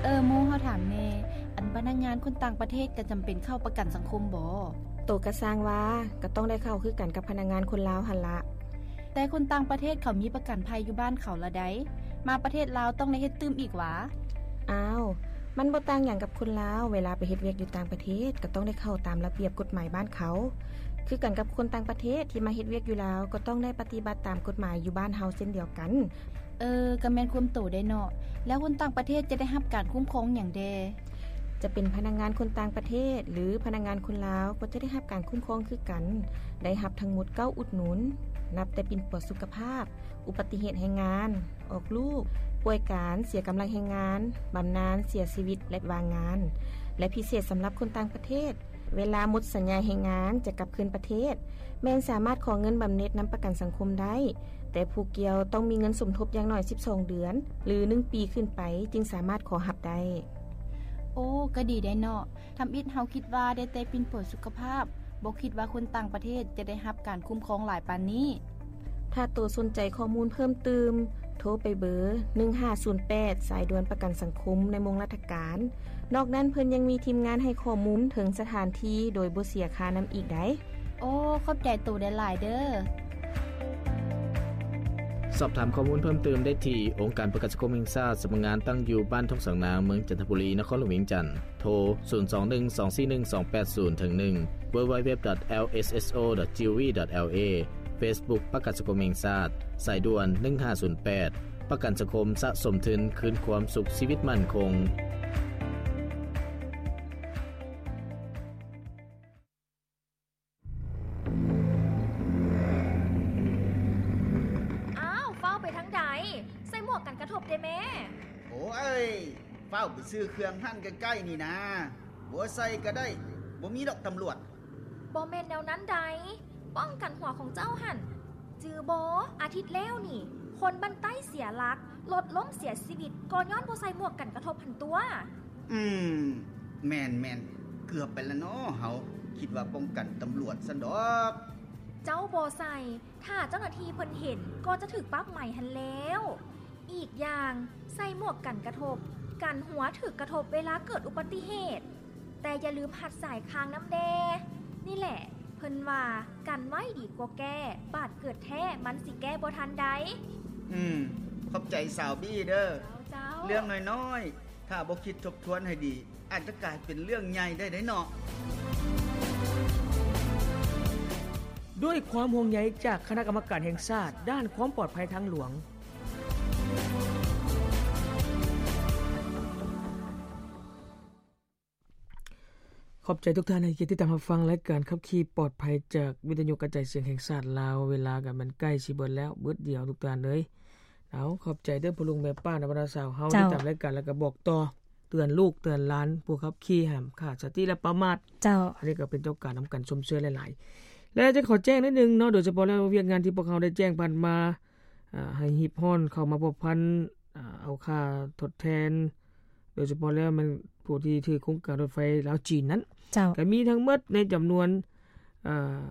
ເອີ ໂມ ເຮົາຖາມແດ່ ອັນພະນັກງານຄົນຕ່າງປະເທດກະຈຳເປັນເຂົ້າປະກັນສັງຄົມບໍ? ໂຕກະຊ່າງວ່າ ກະຕ້ອງໄດ້ເຂົ້າຄືກັນກັບພະນັກງານຄົນລາວຫັ້ນລະ. ແຕ່ຄົນຕ່າງປະເທດເຂົາມີປະກັນໄພຢູ່ບ້ານເຂົາລະໃດ໋ ມາປະເທດລາວຕ້ອງໄດ້ເຮັດຕື່ມອີກຫວາ? ອ້າວ ມັນບໍ່ຕ່າງຫຍັງກັບຄົນລາວ ເວລາໄປເຮັດວຽກຢູ່ຕ່າງປະເທດ ກະຕ້ອງໄດ້ເຂົ້າຕາມລະບຽບກົດໝາຍບ້ານເຂົາ ຄືກັນກັບຄົນຕ່າງປະເທດທີ່ມາເຮັດວຽກຢູ່ລາວ ກໍຕ້ອງໄດ້ປະຕິບັດຕາມກົດໝາຍຢູ່ບ້ານເຮົາເຊັ່ນດຽວກັນ. ເອີ ກະແມ່ນຄວາມໂຕໄດ໋ເນາະ. ແລ້ວຄົນຕ່າງປະເທດຈະໄດ້ຮັບການຄຸ້ມຄອງຫຍັງແດ່? ຈະເປັນພະນັກງານຄົນຕ່າງປະເທດ ຫຼື ພະນັກງານຄົນລາວ ກໍຈະໄດ້ຮັບການຄຸ້ມຄອງຄືກັນ ໄດ້ຮັບທັງໝົດເກົ້າອຸດໜູນ ນັບແຕ່ປິ່ນປົວສຸຂະພາບ, ອຸບັດຕິເຫດແຮງງານ, ອອກລູກ, ປ່ວຍການ, ເສຍກຳລັງແຮງງານ, ບຳນານ, ເສຍຊີວິດ ແລະ ວ່າງງານ ແລະ ພິເສດສຳລັບຄົນຕ່າງປະເທດ ເວລາໝົດສັນຍາແຮງງານຈະກັບຄືນປະເທດ ແມ່ນສາມາດຂໍເງິນບຳເນັດນຳປະກັນສັງຄົມໄດ້, ແຕ່ຜູ້ກ່ຽວຕ້ອງມີເງິນສົມທົບຢ່າງໜ້ອຍສິບສອງເດືອນ ຫຼື ໜຶ່ງປີຂຶ້ນໄປ ຈຶ່ງສາມາດຂໍຮັບໄດ້. ໂອ້ ກະດີໄດ໋ເນາະ. ທຳອິດເຮົາຄິດວ່າໄດ້ແຕ່ປິ່ນປົວສຸຂະພາບ, ບໍ່ຄິດວ່າຄົນຕ່າງປະເທດຈະໄດ້ຮັບການຄຸ້ມຄອງຫຼາຍປານນີ້. ຖ້າໂຕສົນໃຈຂໍ້ມູນເພີ່ມຕື່ມ, ໂທໄປເບີ ໜຶ່ງຫ້າສູນແປດ ສາຍດ່ວນປະກັນສັງຄົມໃນໂມງລາຊະການ. ນອກນັ້ນເພິ່ນຍັງມີທີມງານໃຫ້ຂໍ້ມູນເຖິງສະຖານທີ່ໂດຍບໍ່ເສຍຄ່ານຳອີກໄດ໋. ໂອ້ ຂອບໃຈໂຕຫຼາຍໆເດີ້. ສອບຖາມຂໍ້ມູນເພີ່ມຕື່ມໄດ້ທີ່ ອົງການປະກັນສັງຄົມແຫ່ງຊາດ ສຳນັກງານຕັ້ງຢູ່ບ້ານທົ່ງສາງນາງ ເມືອງຈັນທະບູລີ ນະຄອນຫຼວງວຽງຈັນ. ໂທ ສູນສອງໜຶ່ງສອງສີ່ໜຶ່ງສອງແປດສູນ ເຖິງ ໜຶ່ງ www.lsso.gov.la. Facebook ປະກັນສັງຄົມແຫ່ງຊາດ, ສາຍດ່ວນ ໜຶ່ງຫ້າສູນແປດ. ປະກັນສັງຄົມສະສົມທຶນຄືນຄວາມສຸກຊີວິດໝັ້ນຄົງ. ອ້າວ ຟ້າວໄປທາງໃດ? ໃສ່ໝວກກັນກະທົບແດ່ແມ້. ໂອ້ຍ ຟ້າວໄປຊື້ເຄື່ອງຮ້ານໃກ້ໆນີ້ນາ. ບໍ່ໃສ່ກະໄດ້, ບໍ່ມີດອກຕຳຫຼວດ. ບໍ່ແມ່ນແນວນັ້ນໃດ໋. ປ້ອງກັນຫົວຂອງເຈົ້າຫັ້ນ. ຈື່ບໍ່? ອາທິດແລ້ວນີ້ ຄົນບ້ານໃຕ້ເສຍຫຼັກ, ລົດລົ້ມເສຍຊີວິດ ກໍຍ້ອນບໍ່ໃສ່ໝວກກັນກະທົບຫັ້ນຕົວະ. ອືມ, ແມ່ນໆ, ເກືອບໄປລະເນາະເຮົາ. ຄິດວ່າປ້ອງກັນຕຳຫຼວດຊັ້ນດອກ. ເຈົ້າບໍ່ໃສ່, ຖ້າເຈົ້າໜ້າທີ່ເພິ່ນເຫັນ ກໍຈະຖືກປັບໃໝຫັ້ນແລ້ວ. ອີກຢ່າງ, ໃສ່ໝວກກັນກະທົບ, ກັນຫົວຖືກກະທົບເວລາເກີດອຸບັດຕິເຫດ. ແຕ່ຢ່າລືມຮັດສາຍຄາງນຳແດ່. ນີ້ແຫຼະ ເພິ່ນວ່າ ກັນໄວ້ດີກວ່າແກ້, ບາດເກີດແທ້ ມັນຊິແກ້ບໍ່ທັນໃດ. ອືມ, ຂອບໃຈສາວບີເດີ້. ເຈົ້າ, ເຈົ້າ. ເລື່ອງນ້ອຍໆ, ຖ້າບໍ່ຄິດທົບທວນໃຫ້ດີ, ອາດຈະກາຍເປັນເລື່ອງໃຫຍ່ໄດ້ເດ້ເນາະ. ດ້ວຍຄວາມຫ່ວງໃຍຈາກຄະນະກຳມະການແຫ່ງຊາດດ້ານຄວາມປອດໄພທາງຫຼວງ. ຂອບໃຈທຸກທ່ານທີ່ຕິດຕາມຮັບຟັງລາຍການຂັບຂີ່ປອດໄພຈາກວິທະຍຸກະຈາຍສຽງແຫ່ງຊາດລາວ. ເວລາກໍແມ່ນໃກ້ຊິເບິດແລ້ວ, ບຶດດຽວທຸກທ່ານເອີຍ. ເອົາ, ຂອບໃຈເດີ້ພໍ່ລຸງແມ່ປ້ານະບັນດາສາວເຮົາ ເຈົ້າ. ຕິດຕາມລາຍການ ແລ້ວກໍບອກຕໍ່ ເຕືອນລູກເຕືອນຫຼານຜູ້ຂັບຂີ່ ຫ້າມຂາດສະຕິ ແລະ ປະໝາດ. ເຈົ້າ. ອັນນີ້ກໍເປັນເຈົ້າການນຳກັນຊົມເຊີຍຫຼາຍໆ. ແລະ ຈະຂໍແຈ້ງໜ້ອຍໜຶ່ງເນາະ, ໂດຍສະເພາະແລ້ວວຽກງານທີ່ພວກເຮົາໄດ້ແຈ້ງຜ່ານມາ, ອາ, ໃຫ້ຮີບຮ້ອນເຂົ້າມາພົວພັນ, ອາ, ເອົາຄ່າທົດແທນ, ໂດຍສະເພາະແລ້ວແມ່ນຜູ້ທີ່ຖືກໂຄງການລົດໄຟລາວຈີນນັ້ນ. ເຈົ້າ. ກໍມີທັງໝົດໃນຈຳນວນ, ອາ,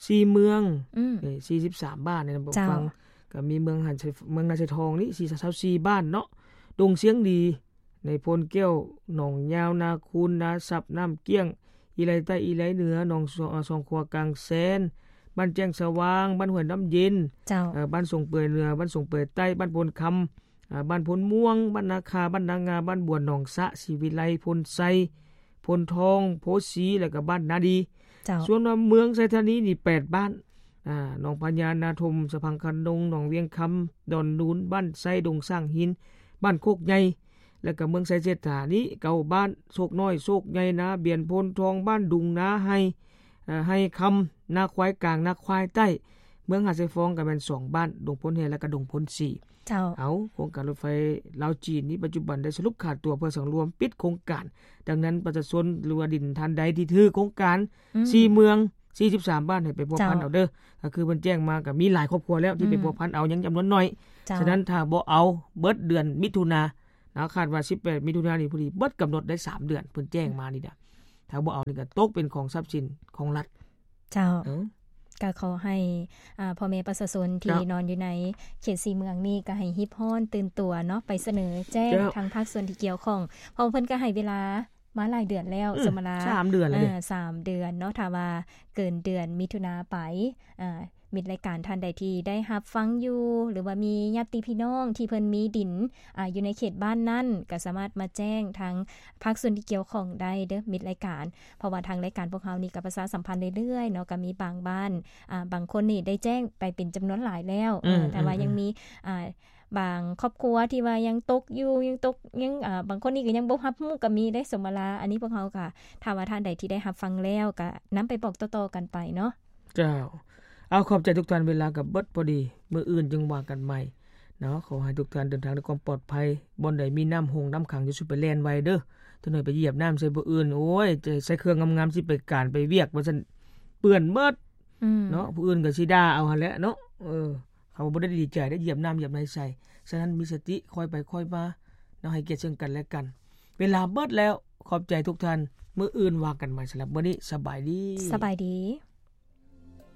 ສີ່ເມືອງ, ອືມ, ເອີ, ສີ່ສິບສາມບ້ານໃນນະຄອນຫຼວງ. ເຈົ້າ. ກໍມີເມືອງຫັນໄຊ, ເມືອງນາຊາຍທອງນີ້ ສີ່ສິບສີ່ບ້ານເນາະ, ດົງຊຽງດີ, ໃນໂພນແກ້ວ, ໜອງຍາວ, ນາຄູນ, ນາຊັບ, ນ້ຳກ້ຽງ, ອີໄລໃຕ້, ອີໄລເໜືອ, ໜອງສອ, ສອງຂົວກາງແຊນ, ບ້ານແຈ້ງສະຫວ່າງ, ບ້ານຫ້ວຍນ້ຳເຢັນ, ເຈົ້າ. ເອີ, ບ້ານສົງເປີຍເໜືອ, ບ້ານສົງເປີຍໃຕ້, ບ້ານໂພນຄຳ, ອາ, ບ້ານໂພນມ່ວງ, ບ້ານນາຄາ, ບ້ານນາງາ, ບ້ານບວນ, ໜອງສະ, ສີວິໄລ, ໂພນໄຊ, ໂພນທອງ, ໂພສີ ແລ້ວກໍບ້ານນາດີ. ເຈົ້າ. ສ່ວນວ່າເມືອງໄຊທານີນີ້ແປດບ້ານ, ອາ, ໜອງພະຍາ, ນາທົມ, ສະພັງຄະນົງ, ໜອງວຽງຄຳ, ດອນນູນ, ບ້ານໄຊ, ດົງຊ້າງຫີນ, ບ້ານໂຄກໃຫຍ່ ແລ້ວກໍເມືອງໄຊເສດຖານີ້ເກົ້າບ້ານ, ໂຊກນ້ອຍ, ໂຊກໃຫຍ່, ນາບຽນ, ໂພນທອງ, ບ້ານດຸງ, ນາໄຮ່, ໄຮ່ຄຳ, ນາຄວາຍກາງ, ນາຄວາຍໃຕ້. ເມືອງຫາດຊາຍຟອງກໍແມ່ນສອງບ້ານ, ດົງໂພນແຮ່ ແລ້ວກໍດົງໂພນສີ່. ເຈົ້າ. ເອົາ, ໂຄງການລົດໄຟລາວຈີນນີ້ປັດຈຸບັນໄດ້ສະຫຼຸບຂາດຕົວເພື່ອສັງລວມປິດໂຄງການ. ດັ່ງນັ້ນປະຊາຊົນ ຫຼືວ່າດິນທ່ານໃດທີ່ຖືກໂຄງການ ອືມ ສີ່ເມືອງ ສີ່ສິບສາມບ້ານ ໃຫ້ໄປພົວພັນ ເຈົ້າ ເອົາເດີ້. ກໍຄືເພິ່ນແຈ້ງມາກໍມີຫຼາຍຄອບຄົວແລ້ວທີ່ ອືມ ໄປພົວພັນເອົາ ຍັງຈຳນວນໜ້ອຍ. ເຈົ້າ. ສະນັ້ນຖ້າບໍ່ເອົາເບິດເດືອນມິຖຸນາ ນະ ຄາດວ່າສິບແປດມິຖຸນານີ້ ພໍດີເບິດກຳນົດໄດ້ສາມເດືອນ ເພິ່ນແຈ້ງມານີ້ນະ. ຖ້າບໍ່ເອົານີ້ກໍຕົກເປັນຂອງຊັບສິນຂອງລັດ. ເຈົ້າ. ເອີ. ກໍຂໍໃຫ້ ອ່າ ພໍ່ແມ່ປະຊາຊົນທີ່ ເຈົ້າ ນອນຢູ່ໃນເຂດສີ່ເມືອງນີ້ ກໍໃຫ້ຮີບຮ້ອນຕື່ນຕົວເນາະ ໄປສະເໜີແຈ້ງ ເຈົ້າ ທາງພາກສ່ວນທີ່ກ່ຽວຂ້ອງ ເພາະວ່າເພິ່ນກໍໃຫ້ເວລາມາຫຼາຍເດືອນແລ້ວ ອືມ ສົມມະລາ ສາມເດືອນແລ້ວເດ້ ເອີ ສາມເດືອນເນາະ. ຖ້າວ່າເກີນເດືອນມິຖຸນາໄປ ອ່າ ມິດລາຍການທ່ານໃດທີ່ໄດ້ຮັບຟັງຢູ່ ຫຼືວ່າມີຍາດຕິພີ່ນ້ອງທີ່ເພິ່ນມີດິນ ອ່າ ຢູ່ໃນເຂດບ້ານນັ້ນ ກໍສາມາດມາແຈ້ງທາງພາກສ່ວນທີ່ກ່ຽວຂ້ອງໄດ້ເດີ້ ມິດລາຍການ. ເພາະວ່າທາງລາຍການພວກເຮົານີ້ກໍປະຊາສຳພັນເລື້ອຍໆເນາະ ກໍມີບາງບ້ານ ອ່າ ບາງຄົນນີ້ໄດ້ແຈ້ງໄປເປັນຈຳນວນຫຼາຍແລ້ວ ອືມ ເອີ ແຕ່ວ່າ ອືມ ຍັງມີ ອ່າ ບາງຄອບຄົວທີ່ວ່າຍັງຕົກຢູ່ ຍັງຕົກ ຍັງ ອ່າ ບາງຄົນນີ້ກໍຍັງບໍ່ຮັບຮູ້ກໍມີເດ້ ສົມມະລາ. ອັນນີ້ພວກເຮົາກໍ ຖ້າວ່າທ່ານໃດທີ່ໄດ້ຮັບຟັງແລ້ວ ກໍນຳໄປບອກຕໍ່ໆກັນໄປເນາະ. ເຈົ້າ ເອົາ ຂອບໃຈທຸກທ່ານ ເວລາກໍເບິດພໍດີ ມື້ອື່ນຈຶ່ງວ່າກັນໃໝ່ເນາະ. ຂໍໃຫ້ທຸກທ່ານເດີນທາງດ້ວຍຄວາມປອດໄພ ບ່ອນໃດມີນ້ຳຮົງນ້ຳຂັງ ຢ່າສູ່ໄປແລ່ນໄວເດີ້ ຈັກໜ້ອຍໄປຢຽບນ້ຳໃສ່ຜູ້ອື່ນ ໂອ້ຍ ໃສ່ເຄື່ອງງາມໆ ຊິໄປການໄປວຽກວ່າຊັ້ນ ເປື້ອນເບິດ ອືມ ເນາະ ຜູ້ອື່ນກໍຊິດ່າເອົາຫັ້ນແຫຼະເນາະ. ເອີ ເຂົາບໍ່ໄດ້ດີໃຈໄດ້ຢຽບນ້ຳຢຽບໃນໃສ່. ສະນັ້ນມີສະຕິ ຄ່ອຍໄປຄ່ອຍມາເນາະ ໃຫ້ກຽດເຊິ່ງກັນແລະກັນ. ເວລາເບິດແລ້ວ ຂອບໃຈທຸກທ່ານ ມື້ອື່ນວ່າກັນໃໝ່. ສຳລັບມື້ນີ້ ສະບາຍດີ ສະບາຍດີ.